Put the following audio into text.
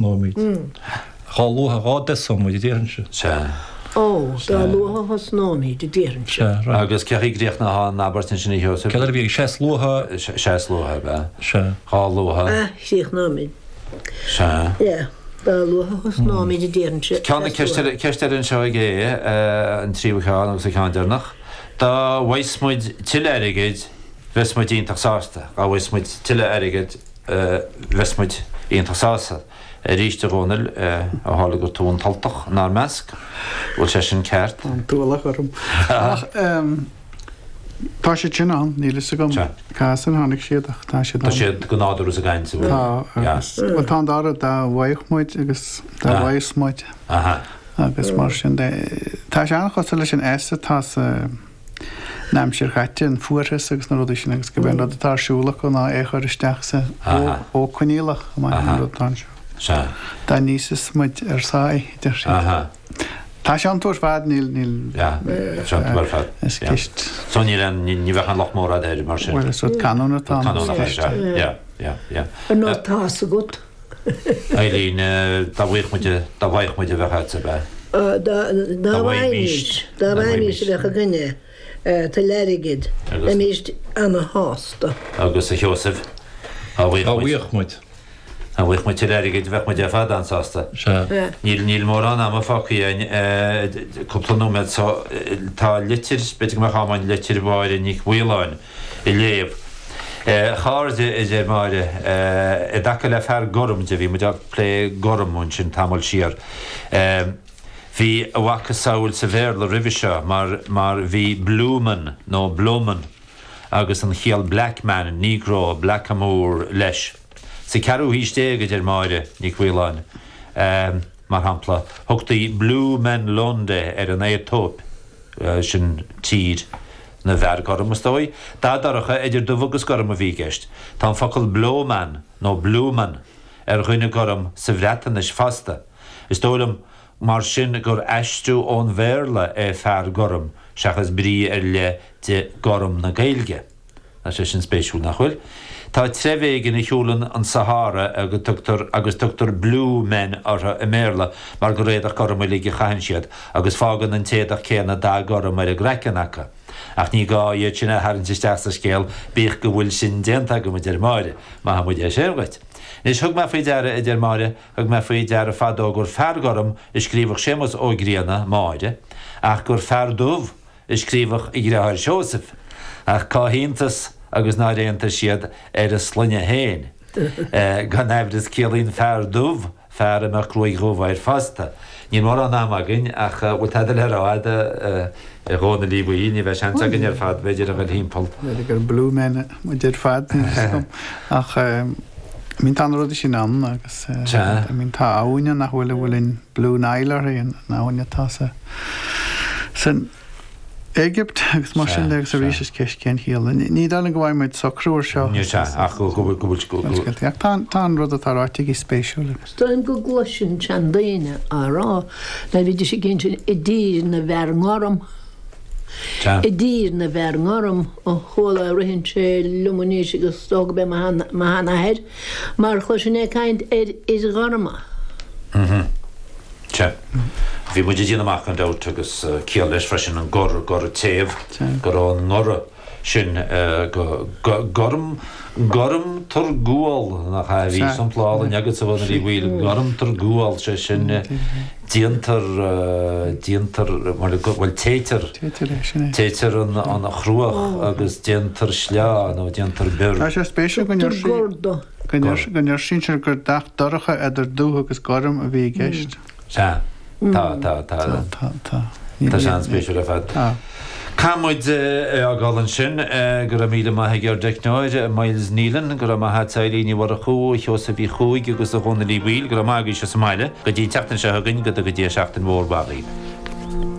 Thosnóimid. Dhá luaithe dhá dtosóidh muid, a déarfainnse. Sea. Ó, dá luaithe a thosnóimid, a déarfainnse. Sea, right. Agus cén chaoi a gcríochnófá an abairt ansin, a Sheosaimh? Céard eile a bhí ag Sea is luaithe. Sea is luaithe, ab ea? Sea. Dhá luaithe. A chríochnóimid. Sea. Yeah. Dá luaithe a thosnóimid, a déarfainnse. Ceann, ceist eile anseo ag Aodh, an tríú ceann agus an ceann deireanach. Dá bhfaigheas muid tuilleadh airgid, bheas muid iontach sásta. Dá bhfaigheas muid tuilleadh airgid, Bheas muid iontach sásta. Arís, a Dhónaill, ó tharla gur tú an tUltach inár measc, bhfuil sé sin ceart? Tá an t-ualach orm. Ach tá siad sin ann, níl fhios agam cá as ar tháinig siad ach tá siad ann. Tá siad go nádúrtha sa gcaint, an bhfuil? Tá, agus, bhuel tá an dá rud, dá bhfaigheadh muid agus dá bhfaigheas muid agus mar sin de. Tá sé an-chosúil leis an S atá sa. an aimsir chaite, an fuarthas agus na rudaí sin agus gurb é an rud atá ar siúl acu ná é a chur isteach sa mhodh coinníollach, amach an rud atá anseo. Dá n-íosfas muid ar sáith, a deir siad. Tá sé iontu ar fad, níl, níl, is ceist. So níl aon, ní bheadh aon locht mór agat air mar sin. Bhuel, is rud canúna atá ann. Canúnach é, sea. Yeah, yeah, yeah. Ar ndóigh tá's agat. Eileen, Dá bhfaigheadh muid, dá bhfaigheadh muid a bheadh agat, ab ea? Dá bhfaighimís, dá bhfaighimís a bheadh againne tuilleadh airgid, bheimís ana-shásta. Agus a Sheosaimh, dá bhfaigheadh muid. Dá bhfaigheadh muid tuilleadh airgid, bheadh muid ar fad an-sásta. Sea. Níl, níl mórán ama fágtha againn, cúpla nóiméad so, tá litir, b'fhéidir go mbeadh am againn litir Mháire Nic Mhaoláin, a léamh. A chairde, a deir Máire, i dtaca le fear gorm de, bhí muid ag plé gorm ansin tamall siar, bhí a mhacasamhail sa Bhéarla roimhe seo mar mar bhí blueman nó blowman agus an chiall black man, negro, blackamoor leis. Sa ceathrú haois déag, a deir Máire Nic Mhaoláin, mar shampla, thugtaí blue men Lunde ar an Aetóip. Sin tír na bhfear gorm, is dóigh. Dath dorcha idir dubh agus gorm a bhí i gceist. Tá an focal blowman nó blueman ar dhuine gorm sa Bhreatnais fosta. Is dóigh liom mar sin gur aistriú ón Bhéarla é fear gorm seachas brí ar leith de gorm na Gaeilge. Tá sé sin spéisiúil, nach bhfuil? Tá treibh éigin a shiúlann an Sahára agus tugtar agus tugtar blue men orthu i mBéarla mar gur éadach gorm uilig a chaitheann siad agus fágann an t-éadach céanna dath gorm ar a gcraiceann acu. Ach ní gá iad sin a tharraingt isteach sa scéal bíodh go bhfuil sin déanta agam, a deir Máire. Maith muid é sin dhuit. Anois, thug mé faoi deara, a deir Máire, thug mé faoi deara fadó gur fear gorm a scríobhadh Séamus Ó Grianna, Máire, ach gur fear dubh a scríobhadh a dheartháir Seosamh, ach cá hiontas agus nár aontaigh siad ar a sloinne féin. Gan aimhreas ciallaíonn fear dubh fear a mbeadh gruaig dhubh air fosta. Níl mórán ama againn ach bhfuil tada le rá agat a Dhónaill Uí Bhaoill, ní bheidh seans againn ar fad b'fhéidir a ghoil thimpeall. B'fhéidir gur blue men muid ar fad, níl fhios agam. Ach I mean tá na rudaí sin ann agus I mean tá abhainn ann nach bhfuil a bhfuil an Blue Nile uirthi, an abhainn atá sa san Éigipt agus mar sin de agus arís is ceist cén chiall. Ní dóigh liom go bhfaighidh muid socrú ar seo. Ní sea, ach go bhfuil go bhfuil. Ach tá tá an rud atá ráite aige spéisiúil agus. Is dóigh liom go gcloisinn seandaoine á rá nuair a bhídís ag insint i dtír na bhfear ngorm. I dtír na bhfear ngorm, ó chuala, ritheann sé liom anois agus is dócha go b'é mo sheanathair, mar chloisinn é ag caint ar fhir ghorma. Sea. Bhí muid ag déanamh amach gan dabht agus ciall leis freisin an gor, gor téamh, go raibh an ngoradh sin go gorm, gormtar gual, nach ea? Bhí sampla álainn agatsa a Dhónaill Uí Bhaoill, gormtar gual, sé sin déantar, déantar, bhuel téitear, téitear an chruach agus déantar sleá nó déantar bior. Tá sé spéisiúil go ndeir sí. Go ndeir sinsir gur dath dorcha idir dubh agus gorm a bhí i gceist. Sea. Tá, tá, tá. Tá, tá. Tá sé an-spéisiúil ar fad. Tá. Caithfidh muid é a fhágáil ansin. Go raibh míle maith ag ár dteicneoir, Myles Nealon. Go raibh maith agat a Eileen Ní Mhurchú, a Sheosaimh Uí Chuaig agus a Dhónaill Uí Bhaoill. Go raibh maith agaibhse sa mbaile. Go dtí an tseachtain seo chugainn, go dtuga Dia seachtain mhór mhaith dhaoibh.